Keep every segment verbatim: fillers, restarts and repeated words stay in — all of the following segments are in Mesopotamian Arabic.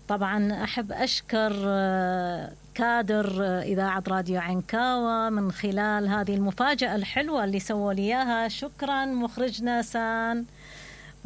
طبعا أحب أشكر كادر إذاعة راديو عنكاوة من خلال هذه المفاجأة الحلوة اللي سووا لي إياها. شكرا مخرجنا سان،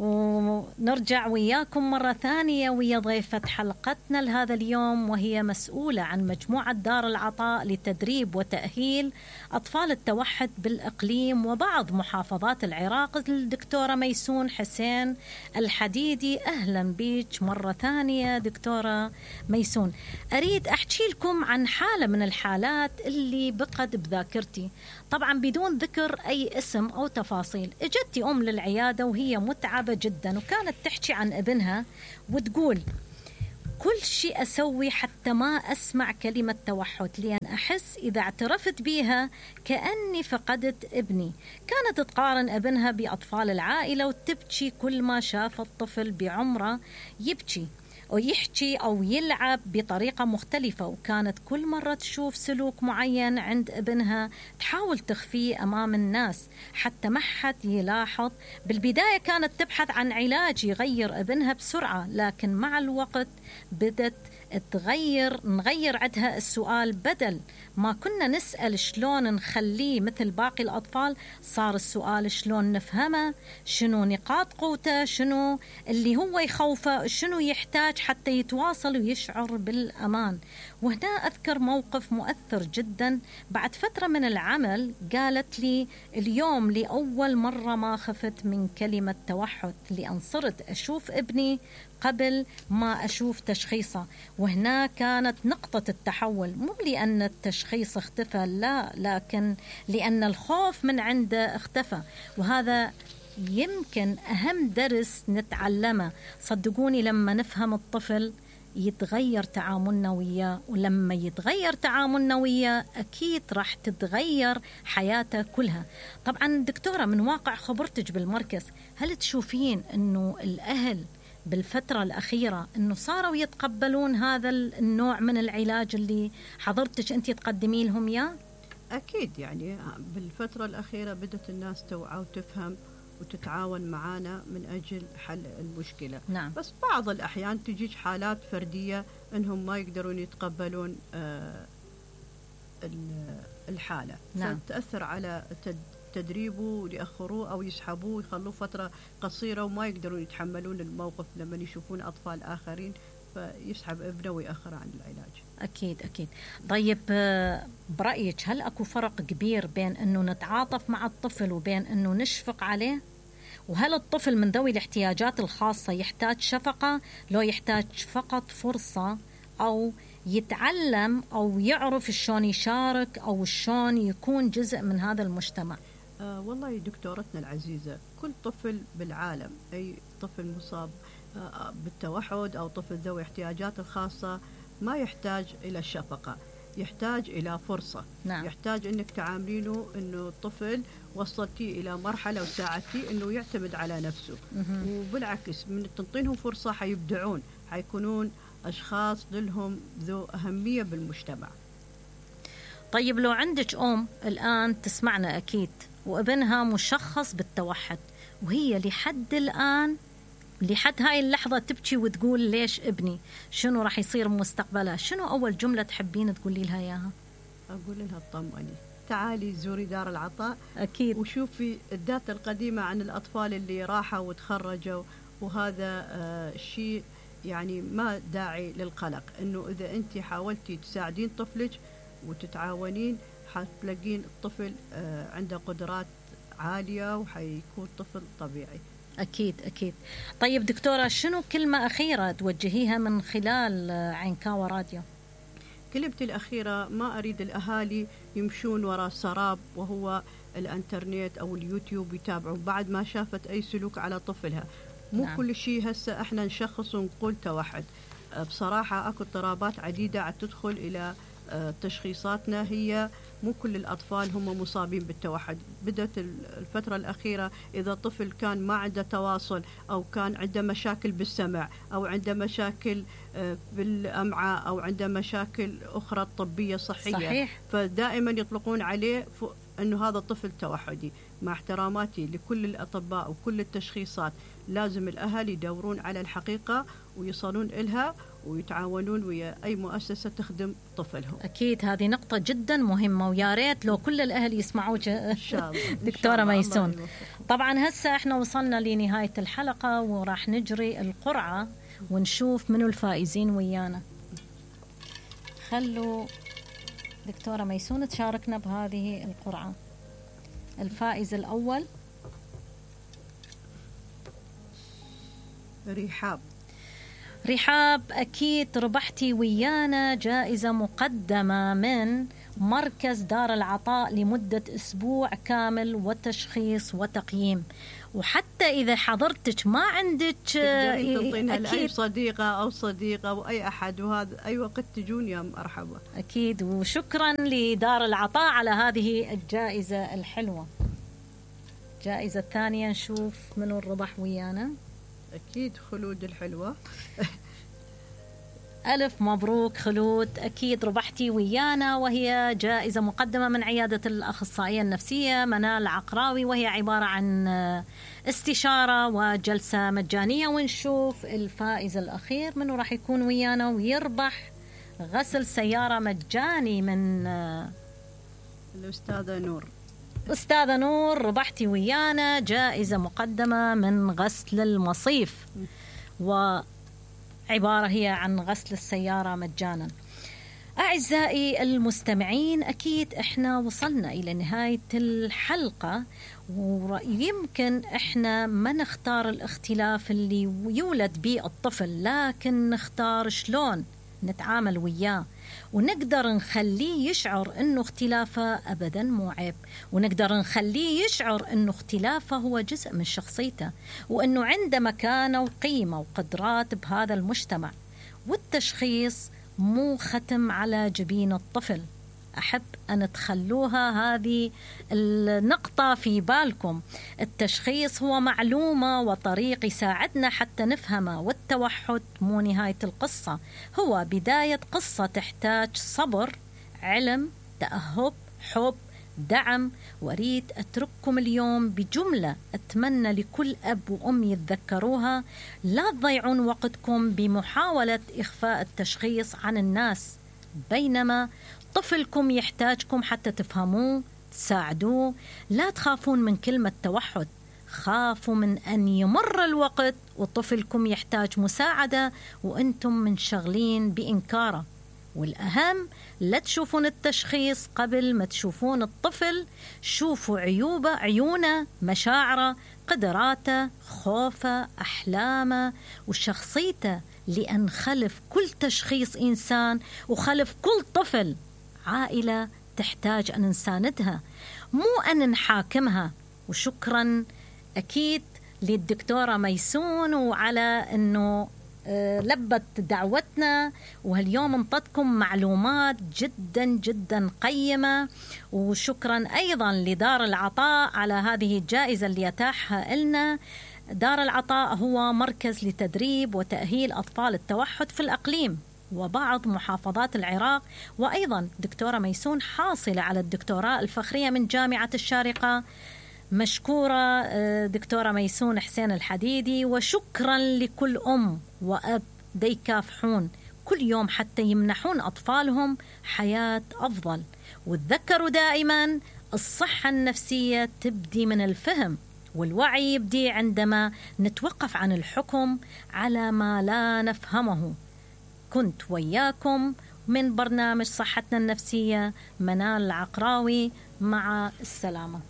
ونرجع وياكم مرة ثانية ويا ضيفة حلقتنا لهذا اليوم، وهي مسؤولة عن مجموعة دار العطاء لتدريب وتأهيل أطفال التوحد بالإقليم وبعض محافظات العراق، الدكتورة ميسون حسين الحديدي. أهلا بيك مرة ثانية دكتورة ميسون. أريد أحكي لكم عن حالة من الحالات اللي بقت بذاكرتي، طبعا بدون ذكر أي اسم أو تفاصيل. اجتي أم للعيادة وهي متعبة جدا، وكانت تحكي عن ابنها وتقول كل شيء أسوي حتى ما أسمع كلمة توحد، لأن أحس إذا اعترفت بيها كأني فقدت ابني. كانت تقارن ابنها بأطفال العائلة وتبكي كل ما شاف الطفل بعمره يبكي أو يحكي أو يلعب بطريقة مختلفة، وكانت كل مرة تشوف سلوك معين عند ابنها تحاول تخفيه أمام الناس حتى ما حد يلاحظ. بالبداية كانت تبحث عن علاج يغير ابنها بسرعة، لكن مع الوقت بدت تغير نغير عندها السؤال. بدل ما كنا نسأل شلون نخليه مثل باقي الأطفال، صار السؤال شلون نفهمه، شنو نقاط قوته، شنو اللي هو يخوفه، شنو يحتاج حتى يتواصل ويشعر بالأمان. وهنا أذكر موقف مؤثر جدا. بعد فترة من العمل قالت لي اليوم لأول مرة ما خفت من كلمة توحد، لأن صرت أشوف ابني قبل ما أشوف تشخيصه. وهنا كانت نقطة التحول، مو لأن التشخيص اختفى، لا، لكن لأن الخوف من عنده اختفى. وهذا يمكن أهم درس نتعلمه. صدقوني لما نفهم الطفل يتغير تعاملنا وياه، ولما يتغير تعاملنا وياه أكيد راح تتغير حياته كلها. طبعا دكتورة، من واقع خبرتك بالمركز، هل تشوفين أنه الأهل بالفترة الأخيرة أنه صاروا يتقبلون هذا النوع من العلاج اللي حضرتك أنت تقدمي لهم إياه؟ أكيد، يعني بالفترة الأخيرة بدأت الناس توعى وتفهم وتتعاون معنا من أجل حل المشكلة. نعم. بس بعض الأحيان تجيج حالات فردية أنهم ما يقدرون يتقبلون آه الحالة. نعم. فتأثر على تدريبه ويأخروه أو يسحبوه ويخلوه فترة قصيرة وما يقدرون يتحملون الموقف لما يشوفون أطفال آخرين، فيسحب ابنه ويأخر عن العلاج. أكيد أكيد. طيب برأيك هل أكو فرق كبير بين أنه نتعاطف مع الطفل وبين أنه نشفق عليه؟ وهل الطفل من ذوي الاحتياجات الخاصة يحتاج شفقة لو يحتاج فقط فرصة، أو يتعلم أو يعرف شلون يشارك أو شلون يكون جزء من هذا المجتمع؟ آه والله دكتورتنا العزيزة، كل طفل بالعالم، أي طفل مصاب آه بالتوحد أو طفل ذوي احتياجات الخاصة ما يحتاج إلى الشفقة، يحتاج إلى فرصة. نعم. يحتاج أنك تعاملينه أنه الطفل وصلتي إلى مرحلة وساعدتي أنه يعتمد على نفسه. مه. وبالعكس من تنطينهم فرصة حيبدعون، حيكونون أشخاص لهم ذو أهمية بالمجتمع. طيب لو عندك أم الآن تسمعنا أكيد وابنها مشخص بالتوحد، وهي لحد الآن لحد هاي اللحظة تبكي وتقول ليش ابني، شنو راح يصير مستقبله، شنو أول جملة تحبين تقولي لها إياها؟ أقول لها اطمئني، تعالي زوري دار العطاء أكيد، وشوفي الداتا القديمة عن الأطفال اللي راحوا وتخرجوا، وهذا آه شيء يعني ما داعي للقلق. إنه إذا أنت حاولتي تساعدين طفلك وتتعاونين حتلاقين الطفل آه عنده قدرات عالية وحيكون طفل طبيعي. أكيد أكيد. طيب دكتورة، شنو كلمة أخيرة توجهيها من خلال عنكاوة راديو؟ كلمتي الأخيرة، ما أريد الأهالي يمشون وراء سراب وهو الانترنت أو اليوتيوب يتابعون بعد ما شافت أي سلوك على طفلها. مو نعم. كل شيء هسه احنا نشخص ونقول توحد. بصراحة أكو اضطرابات عديدة عم تدخل إلى تشخيصاتنا، هي مو كل الأطفال هم مصابين بالتوحد. بدأت الفترة الأخيرة إذا طفل كان ما عنده تواصل أو كان عنده مشاكل بالسمع أو عنده مشاكل بالأمعاء أو عنده مشاكل أخرى طبية صحية، صحيح. فدائما يطلقون عليه أنه هذا طفل توحدي. مع احتراماتي لكل الأطباء وكل التشخيصات، لازم الأهل يدورون على الحقيقة ويصلون إلها ويتعاونون ويا أي مؤسسة تخدم طفلهم. أكيد هذه نقطة جدا مهمة، ويا ريت لو كل الأهل يسمعوك إن شاء الله. دكتورة ميسون. طبعا هسه احنا وصلنا لنهاية الحلقة وراح نجري القرعة ونشوف منو الفائزين ويانا. خلوا دكتورة ميسون تشاركنا بهذه القرعة. الفائز الأول رحاب. رحاب، أكيد ربحتي ويانا جائزة مقدمة من مركز دار العطاء لمدة أسبوع كامل وتشخيص وتقييم. وحتى إذا حضرتك ما عندك تنطينها لأي صديقة أو صديقة أو أي أحد، وهذا أي وقت تجون يا مرحبا. أكيد، وشكرا لدار العطاء على هذه الجائزة الحلوة. الجائزة الثانية نشوف منو الربح ويانا. أكيد خلود الحلوة. ألف مبروك خلود، أكيد ربحتي ويانا، وهي جائزة مقدمة من عيادة الأخصائية النفسية منال عقراوي، وهي عبارة عن استشارة وجلسة مجانية. ونشوف الفائز الأخير منه راح يكون ويانا ويربح غسل سيارة مجاني من الأستاذة نور. أستاذة نور، ربحتي ويانا جائزة مقدمة من غسل المصيف، وعبارة هي عن غسل السيارة مجانا. أعزائي المستمعين، أكيد إحنا وصلنا إلى نهاية الحلقة، ويمكن إحنا ما نختار الاختلاف اللي يولد به الطفل، لكن نختار شلون نتعامل وياه، ونقدر نخليه يشعر أنه اختلافه أبدا مو عيب، ونقدر نخليه يشعر أنه اختلافه هو جزء من شخصيته، وأنه عنده مكانة وقيمة وقدرات بهذا المجتمع. والتشخيص مو ختم على جبين الطفل. أحب أن تخلوها هذه النقطة في بالكم. التشخيص هو معلومة وطريق يساعدنا حتى نفهمه، والتوحد مو نهاية القصة، هو بداية قصة تحتاج صبر، علم، تأهب، حب، دعم. وأريد أترككم اليوم بجملة أتمنى لكل أب وأم يتذكروها: لا تضيعون وقتكم بمحاولة إخفاء التشخيص عن الناس، بينما طفلكم يحتاجكم حتى تفهموه، تساعدوه. لا تخافون من كلمة توحد، خافوا من أن يمر الوقت وطفلكم يحتاج مساعدة وأنتم منشغلين بإنكاره. والأهم، لا تشوفون التشخيص قبل ما تشوفون الطفل، شوفوا عيوبه، عيونه، مشاعره، قدراته، خوفه، أحلامه وشخصيته، لأن خلف كل تشخيص إنسان، وخلف كل طفل عائلة تحتاج أن نساندها، مو أن نحاكمها. وشكرا أكيد للدكتورة ميسون وعلى أنه لبت دعوتنا، وهاليوم انطتكم معلومات جدا جدا قيمة. وشكرا أيضا لدار العطاء على هذه الجائزة اللي يتاحها لنا. دار العطاء هو مركز لتدريب وتأهيل أطفال التوحد في الأقليم وبعض محافظات العراق. وأيضا دكتورة ميسون حاصلة على الدكتوراه الفخرية من جامعة الشارقة. مشكورة دكتورة ميسون حسين الحديدي، وشكرا لكل أم وأب ديكافحون كل يوم حتى يمنحون أطفالهم حياة أفضل. وتذكروا دائما الصحة النفسية تبدي من الفهم، والوعي يبدي عندما نتوقف عن الحكم على ما لا نفهمه. كنت وياكم من برنامج صحتنا النفسية منال العقراوي، مع السلامة.